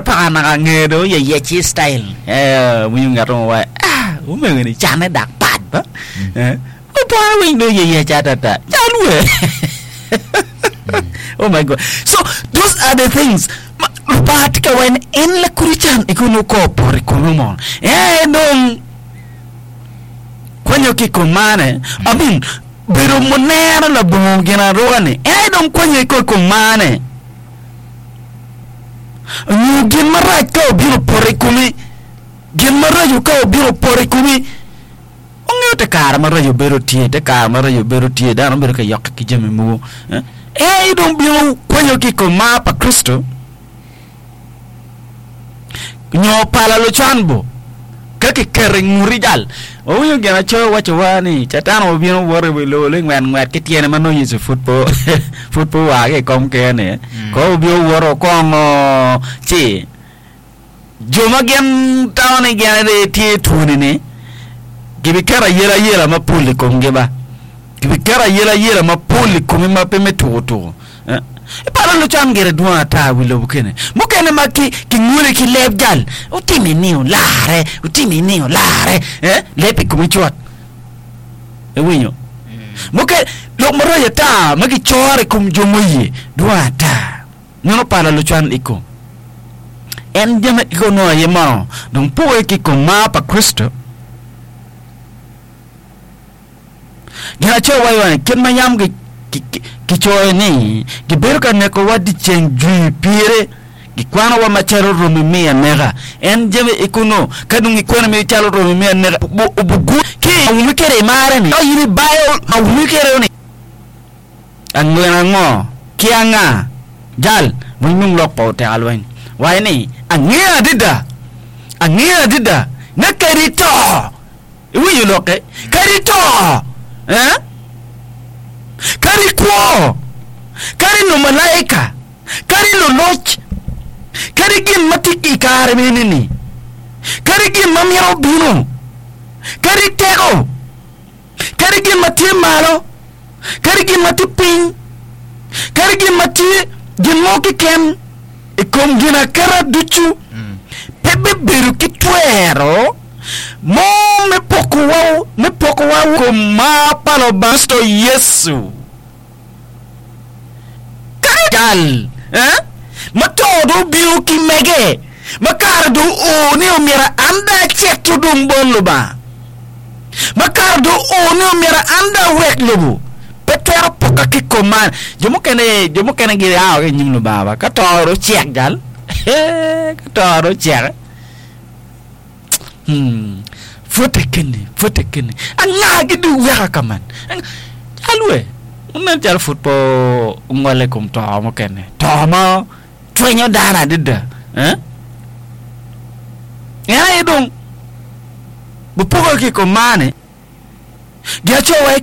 paka naka nge dong oyeyec i style. Eh, winyo ngat mo waco, ah, omego ni canne dak pat ba. Eh, opara winy dong oyeyec atata. Cal we. Oh my God. So, those are the things. Ma, Lubanga tye ka waco ni en lakodi can i kono ko opoto i komi mono. Eh, dong kwanyo ki i kom mane. I mean, bedo munero labongo gin aruka-ni, en aye dong kwanyo i kom mane. Nyo gin marac ka obino opoto i komi, gin maraco ka obino opoto i komi. Wangeyo te kare maraco bedo tye, te kare maraco bedo tye, dano bedo ka yokke ki jami mogo. En aye dong bino kwanyo ki i kom mar pa Kricito. Nyo pala lucan bo ka kiketo i nguti jal. Wawinyo gin acoya wacowa ni Catan obino woto i wi lobo lingwet ngwet ki tyene ma nongo Yecu pud pe pud pe oa ki i kom ker-ni. Ko obino woto okongo ci jo ma gin tamo ni gin aye tye twoni-ni gibiketo ayelayela mapol i komgi ba. Gibiketo ayelayela mapol i komi ma pe me tuko tuko. Iparo lucan gire dwong ata i wi lobo kene. Mukene ma ki kinguli ki leb jal, otimi ni olare, otimi ni olare, eh, leb i komi cut. Iwinyo? Mukene, lok maraco ata ma gicoro i kom jo muye dwong ata. Meno pala lucan i kom. En jami ikono aye mono dong poke ki i kom mar pa Kricito. Ginacoya waco ni, Kit ma yam gicoyo ni, 'Gibedo ka nekowa dyeceng jwi pire, gikwanowa macalo romi me aneka. En jami i kunnu, ka dong gikwanomi calo romi me aneka, obugu ki awumi kwede i mare-ni, ka in ibayo awumi kwede-ni. Angwen ango ki anga? Jal, winy dong lok pa oteka lweny. Waco ni, Angeyo adada, angeyo adada ni kadi ito, Iwinyo lokke? Kadi to, eh? Kadi kwo, kadi lumalaika, kadi luloc, kadi gin ma tye i kare mene-ni, kadi gin ma mito bino, kadi teko, kadi gin ma tye malo, kadi gin ma tye piny, kadi gin ma tye gin mo keken i kom ginaketa ducu, pe bibedo ki twero mo me pokowa me pokowa i kom mar pa Lubanga Kricito Yecu. Ka cal eh, ma to dong obino ki mege, ma kare dong oo ni omyero an dong acito dong bot Lubanga, ma kare dong oo ni omyero an dong awek lobo, pe twero poka ki kom man. Jo mukene, jo mukene gia ki i nyim Lubanga ba, ka to dong ocek jal, ka to dong ocek. Pwote keni, pwote keni. Anga gi dong weka ka man? Alwe, nen calo pud pe ongole i kom to mukene. To ma cwenyo dano adada. Eh? En aye dong bipoko ki i kom mar-ni. Gin aco wa.